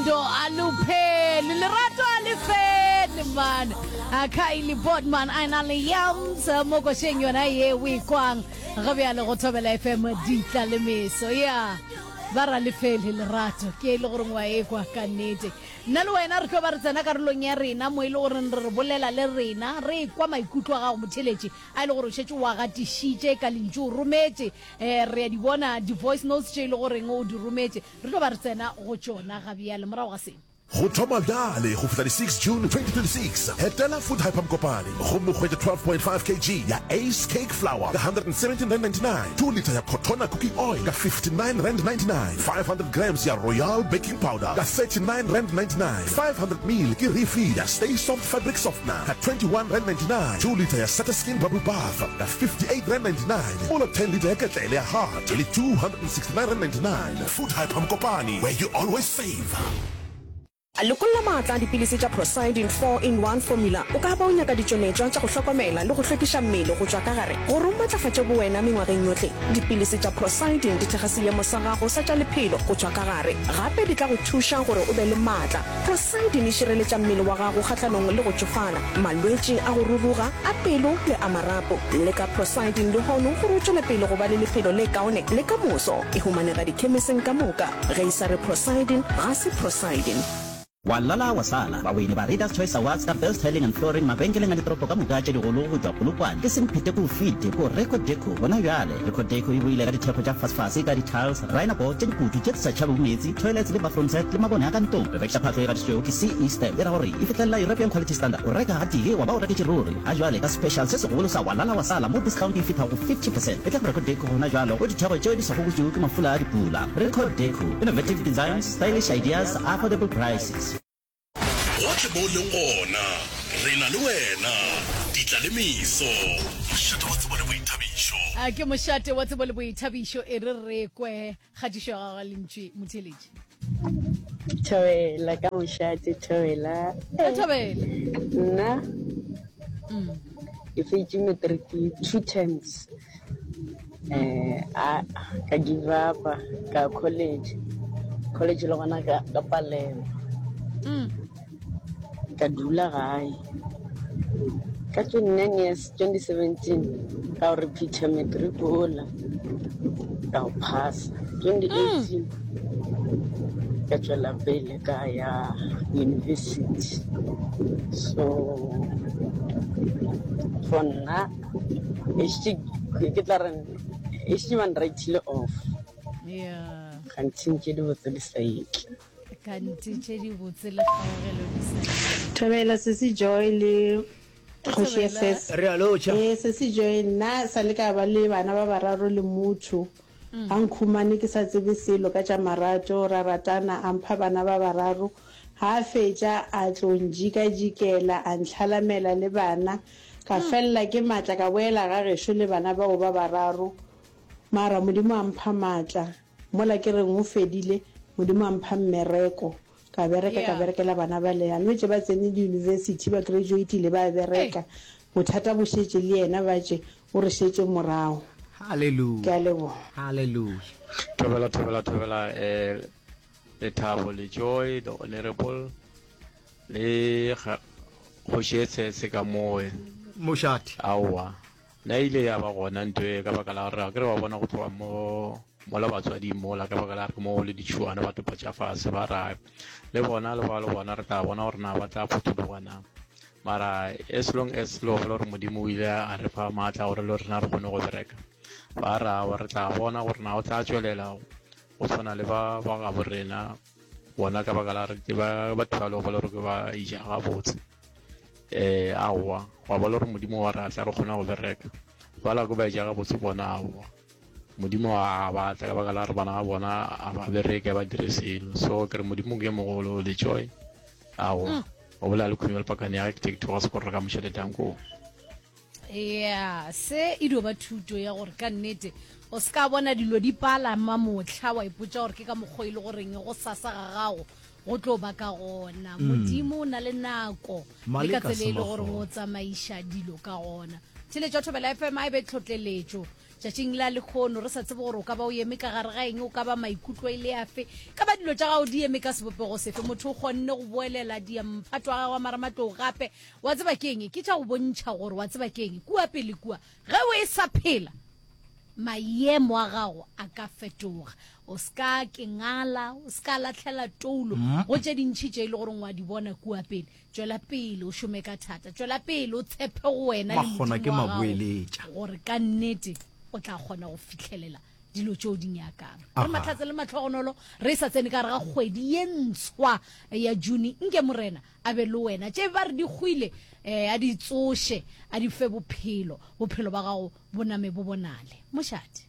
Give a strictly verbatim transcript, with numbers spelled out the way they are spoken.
Uthando alupheli, lerato a le fele man. A Kylie Bodman a na le Yams mo košeng yona ye o e kwang ga bjale go Thobela F M ditla le meso. Ya ba ra lefele lerato ke e le gore ngwa e kwa ka nnete. Nna le wena re tlo ba re tsena karolong ya rena mo e le goreng re re bolela le rena, re kwa maikutlo a gago motheletši a e le gore o šetše o a gatišitše ka lentšu, o rometše. um re ya di bona di-voice notes tše e le goreng o di rometše, re tlo ba re tsena go tšona ga bjale morago ga se. Go thoma bjale go fihla di six June twenty twenty-six, etela Food Hyper Mokopane gomme o hwetše twelve point five kilograms ya Ace Cake Flour ka one hundred seventeen rand ninety-nine, two litre ya Cotona Cooking Oil ka fifty-nine rand ninety-nine, five hundred grams ya Royal Baking Powder ka thirty-nine rand ninety-nine, five hundred mil ke refill ya Stay Soft Fabric Softener ka twenty-one rand ninety-nine, two litre ya Skin Bubble Bath ka fifty-eight rand ninety-nine, mola ten litre ya ketlele ya Hart e le two hundred sixty-nine rand ninety-nine. Food Hyper Mokopane, where you always save. Lokolla maatla a dipilisi tša Prosidin four in one formula. O ka ba o nyaka ditšweletšwa tša go hlokomela le go hlwekiša mmele go tšwa ka gare gore o matlafatše bowena mengwageng yohle. Dipilisi tša Prosidin di thekga seemo sa gago sa tša lephelo go tšwa ka gare, gape di tla go thuša gore o be le maatla. Prosidin e šireletša mmele wa gago kgahlanong le go tšofala, malwetši a go ruruga, a pelo le a marapo. Leka Prosidin lehono gore o tšwele pele go ba le lephelo le kaone le ka moso. E humanega dikhemiseng ka moka. Ge e sa re Prosidin, ga se Prosidin. Wa lala wa sala bawini ba Readers Choice Awards ka Best Tiling and Flooring mabenkeleng a ditoropo ka moka tše digolo go tšwa Polokwane ke Semphete ko fite ko Record Deco. Gona bjale Record Deco e boile ka dithekgo tša fasefase ka di-tiles, rhinoboard tše dikutu tše di sa tšhabego meetse, toilets le bathroom set le mabone a ka ntlong. Re rekiša phahlo e gatišitšwego ke C E Stamp, e ra gore e fihlelela European Quality Standard. O reka ga tee wa ba o reketše ruri. Ga jwale ka special se segolo sa wa lala wa sala mo discount e fihla go fifty percent. E tla go Record Deco gona jalo go ditheko tšeo di sa gokotšwego ke mafula a dipula. Record Deco, innovative designs, stylish ideas, affordable prices. Gohle mo o leng gona, re na le wena. Ditla le meso, mošate wa tsebo le boithabišo. A ke mošate wa tsebo le boithabišo. E re re kwe kgatišo ya gago lentšwe motheletši. Thobela ka mošate, thobela. Thobela. Nna ke fetše matric two times, um a ka give up, ka college, college le gona ka ka palelwa, ka dula gae ka twenty-nine years, twenty seventeen ka go repeata matric ola, ka go phasa. twenty eighteen ka tšwela pele ka ya university. So for nna ešite ke tla re ešite ba nrightile off. Yeah gantši tše dibotse di sa etle. Kante tše dibotse le kgaogelo di sa Thobela sesi Joy le kgoši ya ses. Re a lotšha. Ee sesi Joy, nna sa le ka ba le bana ba bararo le motho a nkhumane ke sa tsebe selo ka tša marato, ra ratana, a mpha bana ba bararo. Ha a fetša a tlo njikajikela, a ntlhalamela le bana, ka felela ke maatla, ka boela ga gešo le bana bao ba bararo. Mara Modimo a mpha maatla mola ke reng o fedile, Modimo a mpha mmereko, ka bereka, ka Yeah. berekela bana ba le anwetse ba tsene di-university, ba graduatile, ba bereka. Bothata bo šetše le yena, ba tše o re šetše morago. Ke a Halleluja. leboga. Halleluja. Thobela, thobela, thobela, eh Lethabo le Joy the Honorable le kgoši e tshetse ka moe. Mošate. Aowa, nna ile ya ba gona ntho e ka baka la gore ke re ba bona go tloga mo mola batswading mola, ka baka la gore mo le ditšhuana ba topa tša fase ba ra le bona le ba le bona, re tla bona gore na ba tla phuthuloga na. Mara as long as le gopola gore Modimo o ile a re fa maatla gore le rena re kgone go bereka, ba ra re tla bona gore na o tla tswelela go tshwana le ba ba gabo rena bona, ka baka la gore ke ba batho ba le gopola gore ke ba ija gabotse. um aowa wa bona gore Modimo wa re atla re kgona go bereka, bala ko ba ija gabotse bona. Aowa, Modimo a batla ka baka la gore bana ba bona a ba bereke, ba dire selo. So ke re Modimo ke mogolo le Joy. Aowa, o bolela le khumelo pakane ya ke go se gore ka mošate tanko. Ya se e dio ba thuto ya gore ka nnete o se ka bona dilo di palama motlha wa ipotsa gore ke ka mokgwa e le goreng go sasa ga gago go tlo ba ka gona. Modimo o na le nako le ka Maleka tsela e le gore Semagoro. o tsamaiša dilo ka gona. Theletšo Thobela F M a e be tlhotleletšo. Tšatšing la lekgono re sa tsebe gore o ka ba o eme ka gare ga eng, o ka ba maikutlo e le afe, ka ba dilo tša gago di eme ka sebopego sefe. Motho o kgonne go boelela diamphato a gagwe a marematlou gape. Wa tseba ke eng? Ke tša go bontšha gore wa tseba ke eng kua pele kua ge o e sa phela, maemo a gago a ka fetoga. O se ka ke ngala, o se ka lahlela toulo go tše dintši tše e le goreng wa di bona kua pele. Tšwela pele o šome ka thata, tšwela pele o tshepe go wena le Makgona ke Modimo wa gago maboeletša. gore ka nnete o tla kgona go fihlelela dilo tšeo di nyakang. Re Aha. mahlatse le mahlogonolo re sa tsene ka gare ga kgwedi ye ntshwa ya June. Nke Morena a be le wena. Tše ba re di hwile, eh, a di tsoše, a di fe bophelo. Bophelo ba gago bo name bo bonale. Mošate.